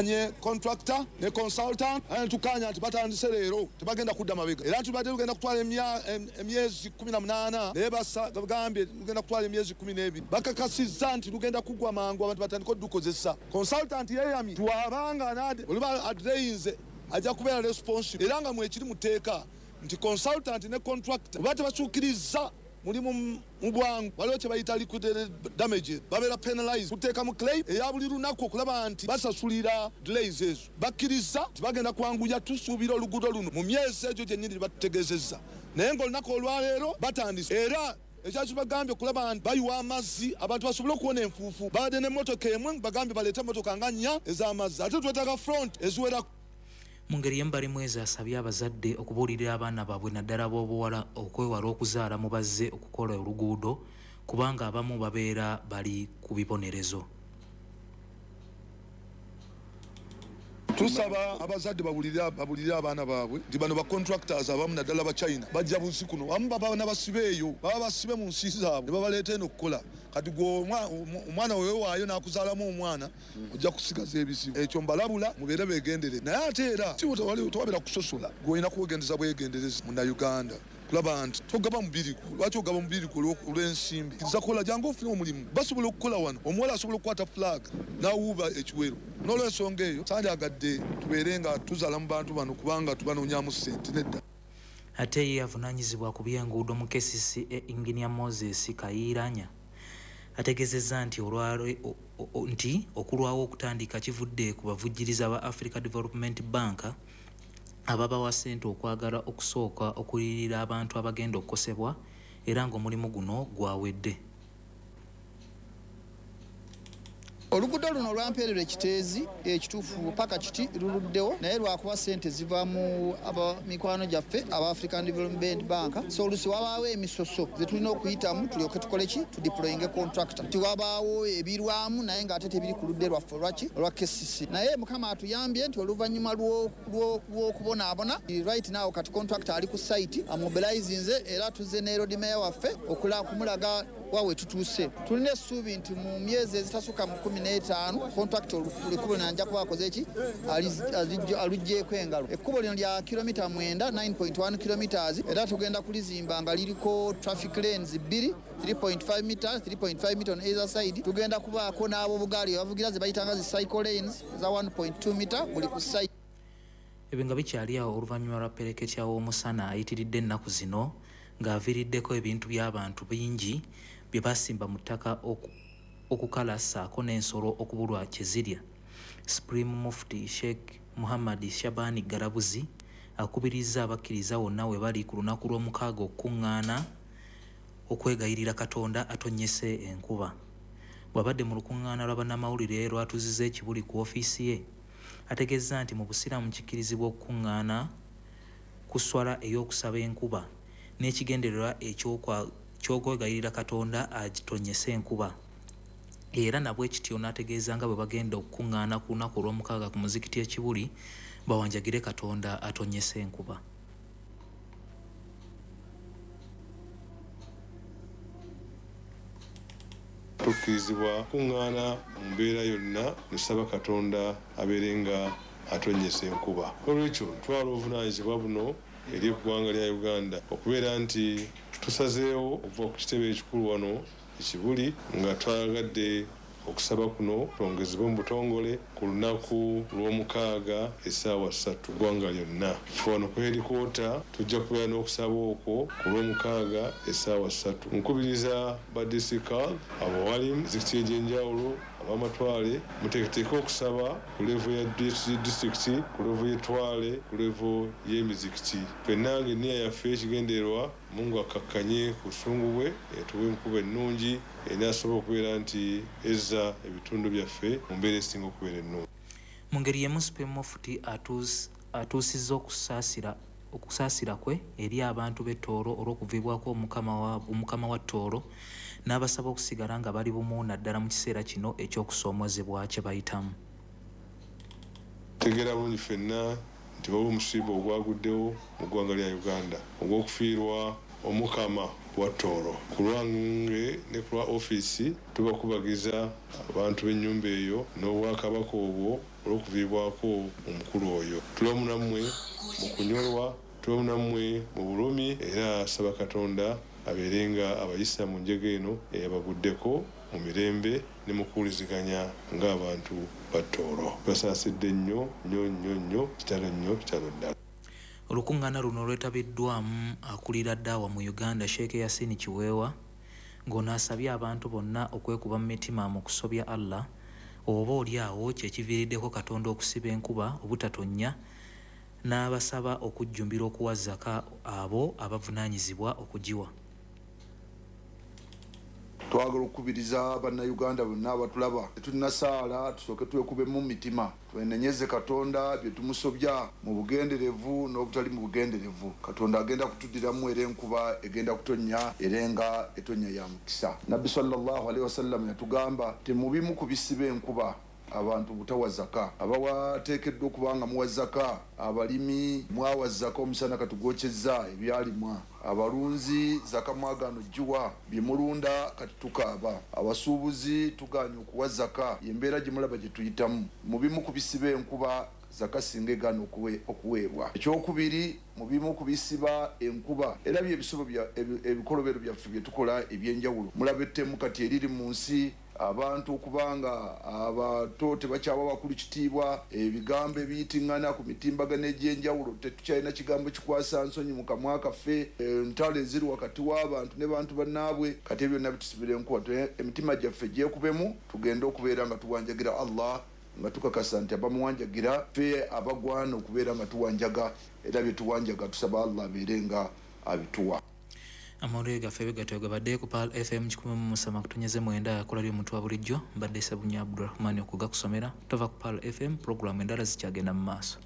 Nye contractor ne consultant tukanya nti batandise leero tebagenda kudda mabega, era tubadde tugenda kutwala emyezi 18 naye bagambye tugenda kutwala emyezi 12. Bakakasizza nti lugenda kugwa mangu abantu batandike okudukozesa. Consultant yeeyamye twabanga oliba adeleyinze ajja kubeera responsible, era nga mwekiri mu tteeka nti consultant ne contractor oba tebasuukiriza mulimu mu bwangu, waliwo kye bayita liquidated damages, babeera penalized kuteeka mu claim eya buli lunaku okulaba nti basasulira delays ezo. Bakkiriza nti bagenda kwanguya, tusuubira oluguudo luno mu myezi egyo gyennyini batutegeezezza, naye ng'olunaku olwaleero batandise. Era ekyakibagambye okulaba nti bayiwa amazzi abantu basobole okuwona enfuufu, babadde n'emmotoka emwe bagambye baleete emmotoka nga 4 ez'amazzi, ate twetaaga front eziwera. Mu ngeri y'emu Balimwezo asabye abazadde okubuulirira abaana baabwe naddala ab'obuwala okwewala okuzaala mu bazze okukola oluguudo kubanga abamu babeera bali ku bibonerezo. Tusaba abazadde babulirire abaana baabwe nti bano ba contractors abamu naddala ba China bajja buzi kuno, abamu baba n'abasibe eyo, baba basibe mu nsi zaabwe ne babaleeta eno okukola. Kati gwe omwana weewaayo n'akuzaalamu omwana ojja kusigaza ebizibu. Ekyo mbalabula mubeere beegendere, naye ate era tewabeera kusosola, gwe olina kwegendereza bwegendereza Munnayuganda kulaba nti togaba mubiri gwo. Lwaki ogaba mubiri gwo olw'ensimbi? Kkiriza kola, jangu ofune omulimu. Basobola okukola wano, omuwala asobola okukwata flag n'awuuba ekiwero. N'olw'ensonga eyo sandyagadde tubeere nga tuzaala mu bantu bano kubanga tubanoonyaamu ssente, nedda. Ate ye avunaanyizibwa ku by'enguudo mu KCCA Engineer Moses Kayiranya ategeezezza nti nti okulwawo okutandika kivudde ku bavujjiriza ba Africa Development Bank ababawa ssente okwagala okusooka okuliyirira abantu abagenda okukosebwa, era ng'omulimu guno gwawedde. Oluguudo luno olwampeererwa Ekiteezi ekituufu paka kiti luluddewo, naye lwakuba ssente ziva mu mikwano gyaffe aba African Development Bank, so oluusi wabaawo emisoso ze tulina okuyitamu tulyoke tukole ki, tudeployinge contractor. Tiwabaawo ebirwamu naye ng'ate tebiri ku ludde lwaffe olwaki olwa KCC, naye Mukama atuyambye nti oluvannyuma lw'okubonaabona right now kati contractor ali ku site amobilizinze, era tuzze ne road mayor waffe okumulaga wawe tutuuse. Tulina essuubi nti mu myezi ezitasukka mu 15 contractor ekkubo lino ajja kuba akoze ki, aluggyeeko engalo. Ekkubo lino lya kilomita 9, 9.1 kilometers, era tugenda kulizimba nga liriko traffic lanes 2, 3.5 meters, 3.5 meter on either side. Tugenda kubaako n'ab'obugaali abavugira ze bayitanga zi cycle lanes eza 1.2 meter buli ku side. Ebyo nga bikyali awo oluvannyuma lwa ppereketya w'omusana ayitiridde ennaku zino ng'aviiriddeko ebintu by'abantu bingi bye basimba mu ttaka okukala ssaako n'ensolo okubulwa kye zirya. Supreme Mufti Sheikh Muhammad Shabani Galabuzi akubirizza abakkiriza wonna we bali ku lunaku lw'omukaaga okukuŋŋaana okwegayirira Katonda atonnyese enkuba. Bw'abadde mu lukuŋŋaana lwa bannamawulire lwatuuzizza Ekibuli ku ofiisi ye, ategeezza nti mu Busiraamu kikkirizibwa okukuŋŋaana ku sswala ey'okusaba enkuba n'ekigendererwa eky'okwegayirira Katonda agitonnyese enkuba. Era nabwe kityo n'ategeeza nga bwe bagenda okukuŋŋaana ku lunaku olw'omukaaga ku muzikiti e Kibuli bawanjagire Katonda atonnyese enkuba. Tukkirizibwa kuŋŋaana mu mbeera yonna nesaba Katonda abeere nga atonnyesa enkuba. Olwekyo twala obuvunaanyizibwa buno eri eggwanga lya Uganda okubeera nti tusazeewo okuva ku kitebe ekikulu wano Ekibuli nga twagadde okusaba kuno twongezebwe mu butongole ku lunaku lw'omukaaga essaawa 3 eggwanga lyonna. Ffe wano ku headquarter tujja kubeera n'okusaba okwo ku lw'omukaaga essaawa 3. Nkubiriza ba district abawalimu mizikiti egy'enjawulo ab'amatwale muteeketeeke okusaba ku level ya district, ku level y'ettwale, ku level y'emizikiti. Ffenna ng'enniya yaffe ekigendererwa Mungu akkakkanye ku busungu bwe etuwe enkuba ennungi enaasobola okubeera nti ezza ebitundu byaffe mu mbeera esinga okubeera ennungi. Mu ngeri y'emu Supreme Mufti atuusizza okusaasira kwe eri abantu b'e Tooro olw'okuviibwako Omukama wa Tooro n'abasaba okusigala nga bali bumu naddala mu kiseera kino eky'okusoomoozebwa kye bayitamu. Tutegeera bulungi ffenna nti waliwo omusiiba ogwaguddewo mu ggwanga lya Uganda ogw'okufiirwa Omukama wa Tooro. Ku lwange ne ku lwa ofiisi tubakubagiza abantu b'ennyumba eyo n'obwakabaka obwo olw'okuviibwako omukulu oyo. Tulamu nammwe mu kunyolwa, tulamu nammwe mu bulumi, era saba Katonda abeere nga abayisa mu njega eno eyabaguddeko mu mirembe ne mu kuwuliziganya ng'abantu ba Tooro. Basaasidde nnyo nnyo nnyo nnyo, kitalo nnyo, kitalo ddala. Olukuŋŋaana luno lwetabiddwamu akulira Daawa mu Uganda, Sheikh Yasin Kiweewa, ng'ono asabye abantu bonna okwekuba mu mitima mu kusobya Allah oba oli awo kye kiviiriddeko Katonda okusiba enkuba obutatonnya, n'abasaba okujjumbira okuwa zaka abo abavunaanyizibwa okugiwa. Twagala okukubiriza bannayuganda bonna abatulaba, tetulina saala, tusooke twekubemu mu mitima, twenenyeze Katonda bye tumusobya mu bugenderevu n'obutali mu bugenderevu. Katonda agenda kutuddiramu era enkuba egenda kutonnya, era nga etonnya ya mukisa. Nabbi sallallahu alaihi wasallam yatugamba temubimu ku bisiba enkuba abantu butawa zaka. Abawateekeddwa okuba nga muwa zaka, abalimi mwawa zaka omusana katugwokyezza ebyalimwa, abalunzi zaka mwagaana ogiwa, bye mulunda kati tukaaba, abasuubuzi tugaanye okuwa zaka. Embeera gye mulaba gye tuyitamu, mu bimu ku bisiba enkuba zaka singa egaana okuweebwa. Ekyokubiri, mu bimu ku bisiba enkuba era byebisobo ebikolobero byaffe bye tukola ebyenjawulo. Mulaba ettemu kati eriri mu nsi, abantu okubanga abato tebakyawa bakulu kitiibwa, ebigambo ebiyitiŋŋana ku mitimbagano egy'enjawulo, tetukyalina kigambo kikwasa nsonyi mu kamwa kaffe, entalo eziri wakati w'abantu ne bantu bannaabwe. Kati ebyo byonna bitusibira enkuba. Emitima gyaffe gyekubemu, tugende okubeera nga tuwanjagira Allah, nga tukakasa nti abamuwanjagira ffe abagwana okubeera nga tuwanjaga, era bye tuwanjaga tusaba Allah abeere nga abituwa. Amawulire gaffe bigatyo gabadde ku Pearl FM 107.9 akola ly'omuntu wa bulijjo. Mbadde Ssebunya Abdulrahman okugakusomera. Tova ku Pearl FM, pulogulaamu endala zikyagenda mu maaso.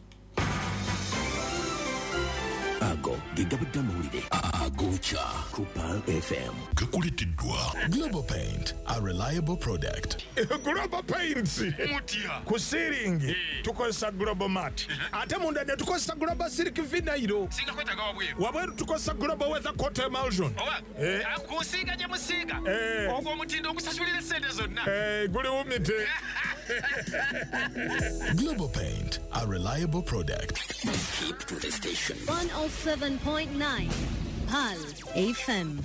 Ago ge gabadde amawulire agokya ku Pearl FM. Gakuleeteddwa Global Paint, a reliable product. Global Paints mutya ku ceiling tukozesa Global Mat, ate munda ne tukozesa Global Silk Vinyl. Singa kwetaaga wabweru, wabweru tukozesa Global Weather Coat Emulsion. Oba kusiiga gye musiiga ogwo omutindo ogusasulira essente zonna guliwumite. Global Paint, a reliable product. Keep to the station. 107.9 Pearl FM.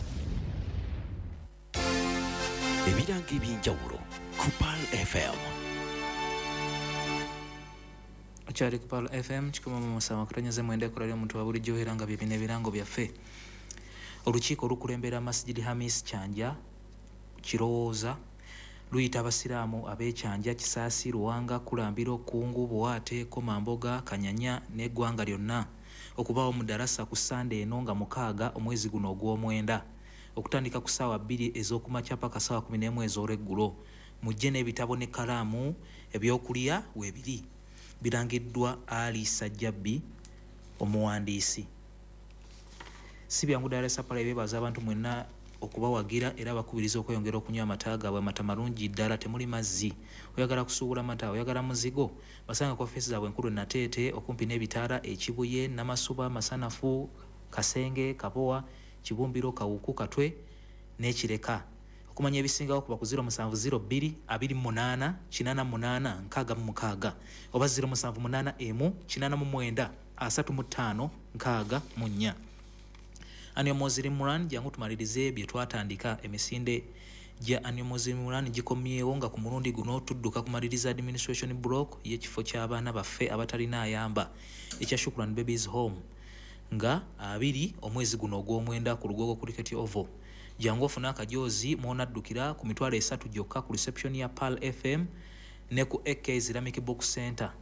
Ebirango ebyenjawulo ku Pearl FM. Okyali ku Pearl FM 107.9 ekola ly'omuntu wa bulijjo, era nga bye bino ebirango byaffe. Olukiiko olukulembera Masjid Hamis Kyanja Kirowooza luyita abasiraamu ab'ekyanja Kisaasi, Luwanga, Kulambiro, Kungu, Buwaate, Komamboga, Kanyanya n'eggwanga lyonna okubaawo mu darasa ku Ssande eno nga 6 omwezi guno ogw'omwenda okutandika ku ssaawa 2 ez'okumakya paka ssaawa 11 ez'olweggulo. Mujje n'ebitabo n'ekkalaamu, ebyokulya weebiri. Birangiddwa Ali Sajjabbi omuwandiisi. Si byangu ddala Sapala ebeebaza abantu mwenna okubawagira era bakubiriza okweyongera okunywa amata gaabwe. Amata malungi ddala, temuli mazzi. Oyagala kusuubula mata, oyagala muzigo, basanga ku ofiisi zaabwe enkulu Nateete okumpi n'ebitaala e Kibuye, Namasuba, Masanafu, Kasenge, Kabowa, Kibumbiro, Kawuku, Katwe n'Ekireka. Okumanya ebisingawo kuba ku 0702 28 88 66 oba 0781 89 35 64. Annual Muslim Run, jangu tumalirize bye twatandika. Emisinde gya Annual Muslim Run gikomyewo nga ku mulundi guno tudduka kumaliriza administration block y'ekifo ky'abaana baffe abatalina ayamba ekya Shukran Babies Home nga 2 omwezi guno ogw'omwenda ku Lugogo Cricket Oval. Jangu ofune akajoozi mw'onaddukira ku 300,000 gyokka ku reception ya Pearl FM ne ku AK Islamic Book Center.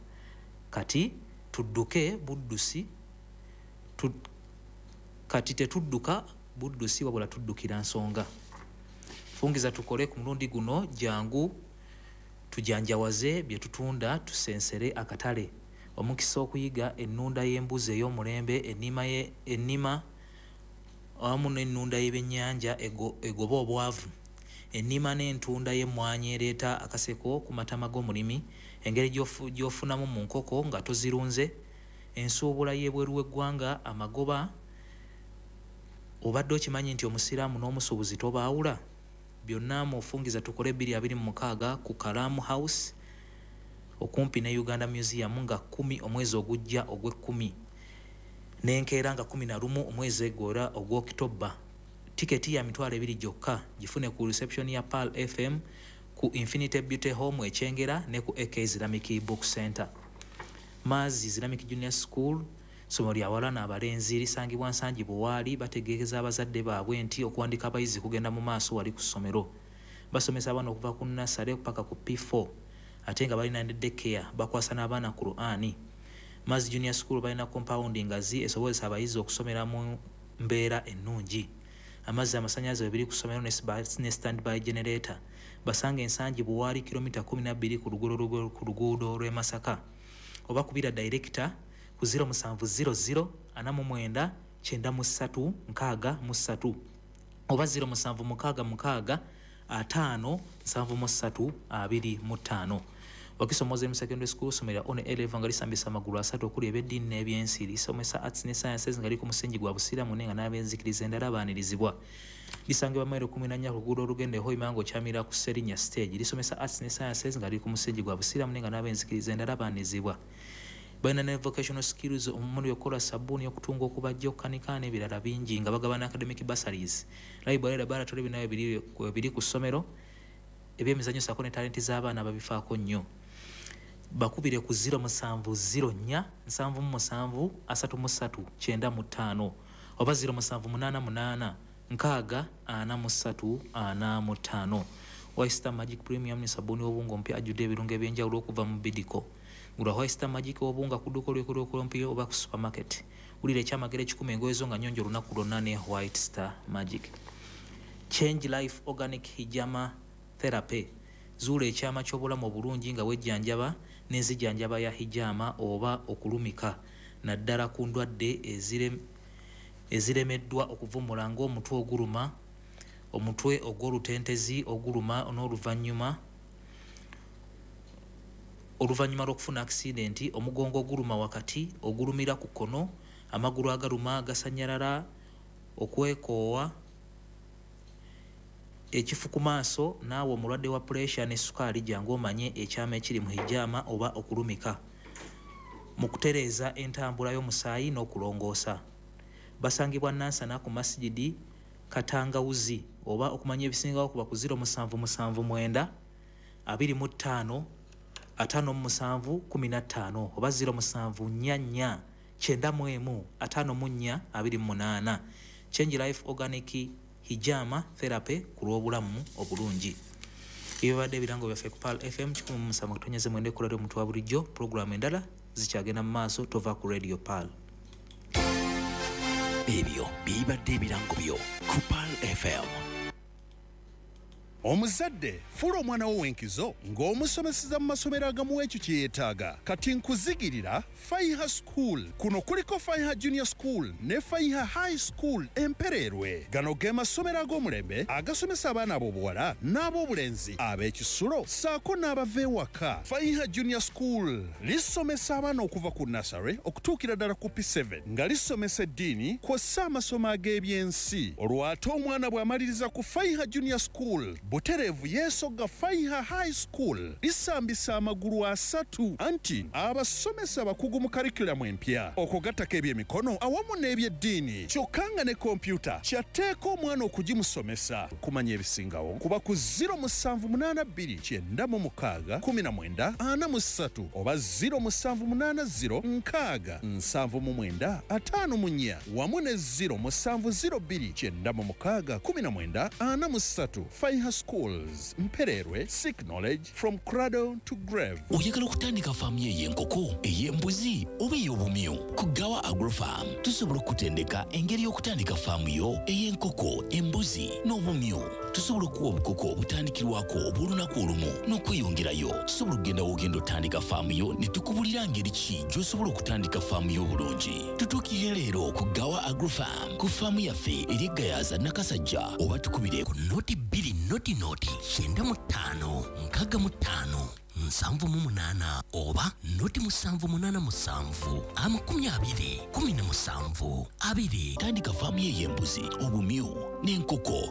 Kati tudduke buddusi kati tetudduka buddusi wabula tuddukira nsonga. Fungiza tukole ku mulundi guno, jangu tujanjawaze bye tutunda, tusensere akatale. Omukisa okuyiga ennunda y'embuzi ey'omulembe, ennima awamu n'ennunda y'ebyennyanja egoba obwavu, ennima n'entunda y'emmwanyi ereeta akaseko ku matama g'omulimi, engeri gy'ofunamu mu nkoko nga tozirunze, ensuubula y'ebweru w'eggwanga, amagoba Obadde okimanyi nti omusiraamu n'omusuubuzi tobaawula? Byonna mufungiza tukole 2026 ku Kalamu House okumpi ne Uganda Museum nga 10 omwezi ogujja ogw'ekkumi, n'enkeera nga 11 omwezi egora ogw'Okitoba. Tiketi ya 20,000 gyokka. Gifune ku reception ya Pearl FM, ku Infinity Beauty Home Ekyengera ne ku AK Islamic Book Center. Maazi Islamic Junior School, ssomero lya bawala n'abalenzi, lisangibwa Nsangi Buwaali. Bategeeza abazadde baabwe nti okuwandika abayizi kugenda mu maaso wali ku ssomero. Basomesa abaana okuva ku nursery paka ku P4, ate nga balina ne daycare. Bakwasa n'abaana Qur'ani. Maazi Junior School balina compound ngazi esobozesa abayizi okusomera mu mbeera ennungi. Amazzi, amasannyalaze biri ku ssomero ne standby generator. Basanga Ensangi Buwaali, kilomita 12 ku luguudo lw'e Masaka, oba kubira director ku 0700 49 93 63 oba 0766 5 73 25. Wakiso Muslim Secondary School, ssomero lya O level nga lisambisa amagulu asatu okuli ebyeddiini n'ebyensi. Lisomesa arts ne sciences nga liri ku musingi gwa busiraamu, naye nga n'abenzikiriza endala baanirizibwa. Lisangibwa mayiro 14 ku luguudo olugenda e Hoima ng'okyamira ku Serinya stage. Lisomesa arts ne sciences nga liri ku musingi gwa busiraamu, naye nga n'abenzikiriza endala baanirizibwa. Balina ne vocational skills omuli okukola sabbuuni, okutunga, okubajja, okukanika n'ebirala bingi, nga bagabana academic bursaries. Library, laboratory binayo biri ku ssomero. Ebyemizannyo ssaako ne talenti z'abaana babifaako nnyo. Bakubire ku 0704 77 33 95 oba 0788 60 43 45. White Star Magic Premium ne sabbuuni w'obunga omupya ajjudde ebirungo ebyenjawulo okuva mu Bidco. Gula White Star Magic w'obunga ku dduuka olw'ekolokolompyo oba ku supermarket. Wulira ekyamagero ekikuma engoye zo nga nnyonjo olunaku lwonna ne White Star Magic. Change Life Organic Hijama Therapy. Zuula ekyama ky'obulamu obulungi nga wejjanjaba n'enzijjanjaba ya hijama oba okulumika, naddala ku ndwadde eziremeddwa okuvumula ng'omutwe oguluma, omutwe ogw'olutentezi oguluma n'oluvannyuma lw'okufuna akisidenti, omugongo oguluma wakati, ogulumira ku kkono, amagulu agaluma gasannyalala, okwekoowa, ekifu ku maaso. Naawe omulwadde wa puresha ne sukaali, jangu omanye ekyama ekiri mu hijama oba okulumika mu kutereeza entambula y'omusaayi n'okulongoosa. Basangibwa Nansana ku Masigidi Katangawuzi, oba okumanya ebisingawo kuba ku 0779 25 57 15 oba 0744 91 54 28. Change Life Organic Hijama Therapy ku lw'obulamu obulungi. Ebibadde ebirango byaffe ku Pearl FM 107.9, ekkola ly'omuntu wa bulijjo. Pulogulaamu endala zikyagenda mu maaso. Tova ku Radio Pearl. Ebyo bibadde ebirango byo ku Pearl FM. Omuzadde, fuula omwana wo w'enkizo ng'omusomeseza mu masomero agamuwa ekyo kye yeetaaga. Kati nkuzigirira Faiha School. Kuno kuliko Faiha Junior School ne Faiha High School Empereerwe. Gano ge masomero ag'omulembe agasomesa abaana ab'obuwala n'ab'obulenzi, ab'ekisulo ssaako n'abava ewaka. Faiha Junior School lisomesa abaana okuva ku nursery okutuukira ddala ku P7, nga lisomesa eddiini kw'ossa amasomo ag'ebyensi. Olwo ate omwana bw'amaliriza ku Faiha Junior School, butereevu yeesogga Faiha High School. Lisambisa amagulu asatu, anti abasomesa abakugu mu curriculum empya, okugattako ebyemikono awamu n'ebyeddiini, kyokka nga ne kompyuta kyatteeka omwana okugimusomesa. Kumanya ebisingawo kuba ku 0782 96 19 43 oba 0780 6 79 54 wamu ne 0702 96 19 43. Faiha Schools Mpererwe, seek knowledge from cradle to grave. Oyagala okutandika faamu yo ey'enkoko, ey'embuzi oba ey'obumyu? Ku Gawa Agrofarm tusobola okutendeka engeri y'okutandika faamu yo ey'enkoko, embuzi n'obumyu. Tusobola okuwa obukoko obutandikirwako obw'olunaku olumu n'okweyongerayo. Tusobola okugenda w'ogenda otandika faamu yo ne tukubulira ngeri ki gy'osobola okutandika faamu yo obulungi. Tutuukirire leero ku Gawa Agrofarm ku faamu yaffe eri Gayaza Nakasajja, oba tukubire ku 0 2 0 0 95 65. 78 oba 0787 20 17 20. Tandika faamu ye ey'embuzi, obumyu n'enkoko.